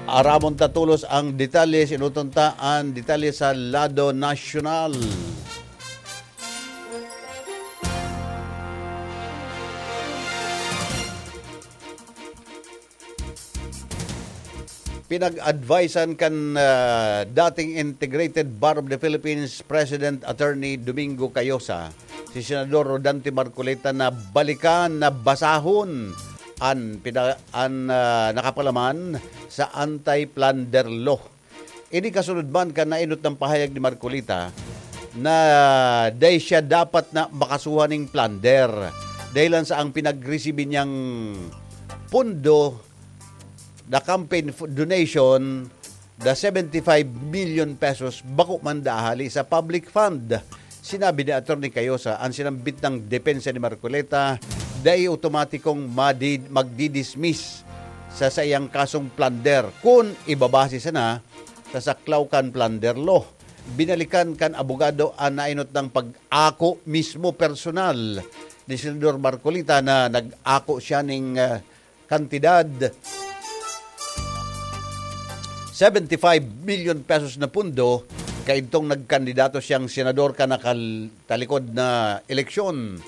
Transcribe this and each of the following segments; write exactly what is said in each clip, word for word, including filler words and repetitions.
Aramon ta tolos ang detalye, sinuton ta an detalye sa lado nasyonal. Pinag-advisean kan, ah, dating Integrated Bar of the Philippines President Attorney Domingo Cayosa si Senador Rodante Marcoleta na balikan, na basahon an pina-, an, ah, nakapalaman sa anti-plunder law. Ini kasunod man kan nainot na pahayag ni Marcoleta na dai siya dapat na makasuhan ning plunder dahilan sa ang pinagresibi niyang pondo, the campaign f-, donation, the seventy-five million pesos, bako man da ahali sa public fund. Sinabi ni Attorney Cayosa, ang sinambit na depensa ni Marcoleta dai otomatikong madi-, magdidismiss sa saiyang kasong plunder kun ibabase sana sa saklaw kan plunder law. Binalikan kan abogado an nainot na pag-ako mismo personal ni Senador Marcoleta na nag-ako siya ning, ah, kantidad seventy-five million pesos na pundo kaidtong nagkandidato siyang senador kan nakatalikod na eleksyon.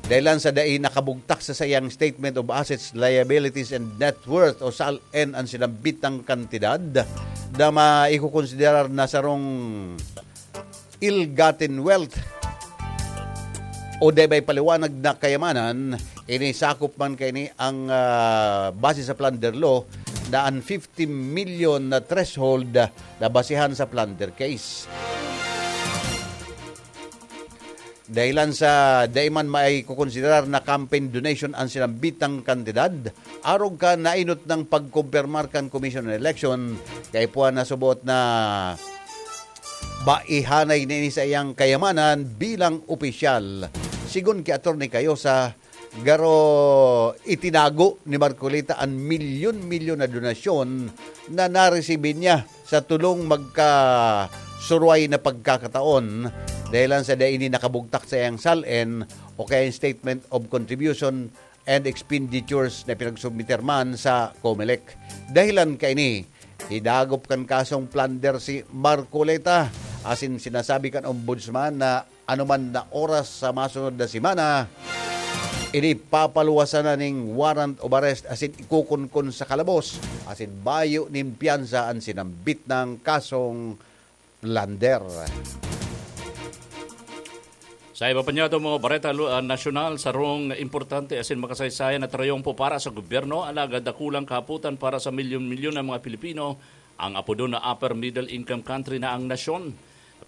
Dahilan sa dai nakabugtak sa saiyang Statement of Assets, Liabilities, and Net Worth o sal-en an sinambit na kantidad na maikukonsiderar na sarong ill-gotten wealth o dai may paliwanag na kayamanan, ini sakop man kaini ang, ah, base sa plunder law na an fifty million na threshold na basehan sa plunder case. Dahilan sa dai man maikukonsiderar na campaign donation an sinambitang kantidad, arog kan nainot na pagkumpirmar kan Commission on Election, kaipuhan na subot na baihanay nini sa iyang kayamanan bilang opisyal. Sigon ki Attorney Cayosa, garo itinago ni Marcoleta an milyon-milyon na donasyon na naresibi niya sa tolong magkasurway na pagkakataon, dahilan sa dai ini nakabugtak sa iyang sal-en o kaya statement of contribution and expenditures na pinagsubmiter man sa Comelec. Dahilan kaini, hidagop kan kasong plunder si Marcoleta, asin sinasabi kan Ombudsman na anoman na oras sa masunod na semana, ini papaluwasan na ning warrant of arrest asin ikukunkon sa kalabos, asin bayo nin piyansa an sinambit na kasong plunder. Sa iba pa niyato mga bareta lu-, ah, nasyonal, sarong importante asin makasaysayan na trayompo para sa gobyerno, alagad dakulang kahapotan para sa milyon-milyon na mga Pilipino. Ang apodon na upper middle income country na ang nasyon.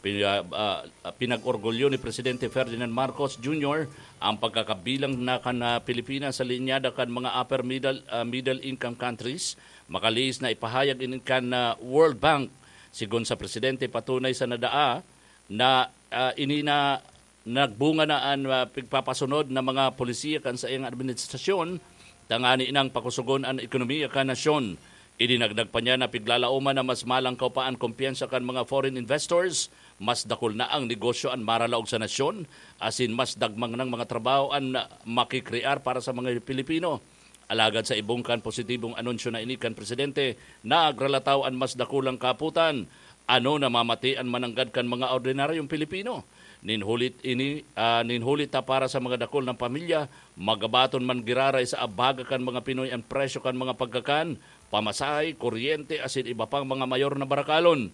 Pin-, ah, ah, pinag-orgulyo ni Presidente Ferdinand Marcos Junior ang pagkakabilang na kan, ah, Pilipinas sa linyada kan mga upper middle, ah, middle income countries, makalihis na ipahayag ini kan, ah, World Bank. Sigon sa Presidente, patunay sa nadaa na, ah, ini na nagbunga na an, ah, pigpapasunod na mga polisiya kan saiyang administrasyon, tangani nang pakusugon an ekonomiya kan nasyon. Idinagdag pa niya na piglalaoman na mas malangkaw pa an kumpiyansa kan mga foreign investors, mas dakul na ang negosyo an maralaog sa nasyon, asin mas dagmang nang mga trabaho an makikrear para sa mga Pilipino. Alagad sa ibong kan positibong anunsyo na ini kan presidente, nagralataw an mas dakulang kaputan. Ano namamati an mananggad kan mga ordinaryong Pilipino? Nin hulit ini, ah, nin hulit ta para sa mga dakul na pamilya, magabaton man giraray sa abaga kan mga Pinoy an presyo kan mga pagkakan, pamasahe, kuryente, asin iba pang mga mayor na barakalon.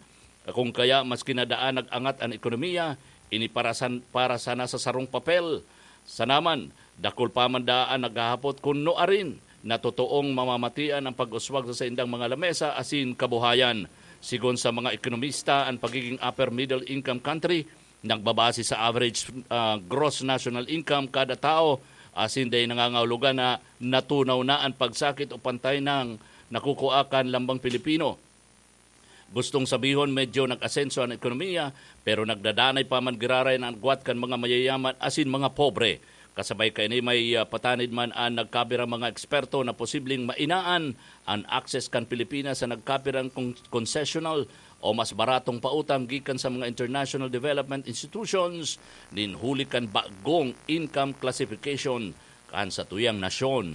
Kung kaya, maski na daan nag-angat an ekonomiya, ini para san-, para sana sa sarong papel. Sana man, dakul pa man daan naghahapot kun nuarin na totoong mamamatian ang pag-uswag sa saindang mga lamesa asin kabuhayan. Sigon sa mga ekonomista, ang pagiging upper middle income country nagbabase sa average, ah, gross national income kada tao, asin dai nangangahulugan na natunaw na an pagsakit o pantay nang nakukua kan lambang Pilipino. Gustong sabihon, medyo nag-asenso an ekonomiya, pero nagdadanay pa man giraray na agwat kan mga mayayaman asin mga pobre. Kasabay kaini, may, ah, patanid man an nagkapirang mga eksperto na posibleng mainaan an access kan Pilipinas sa nagkapirang kon-, concessional o mas baratong pautang gikan sa mga international development institutions nin huli kan bagong income classification kan satuyang nasyon.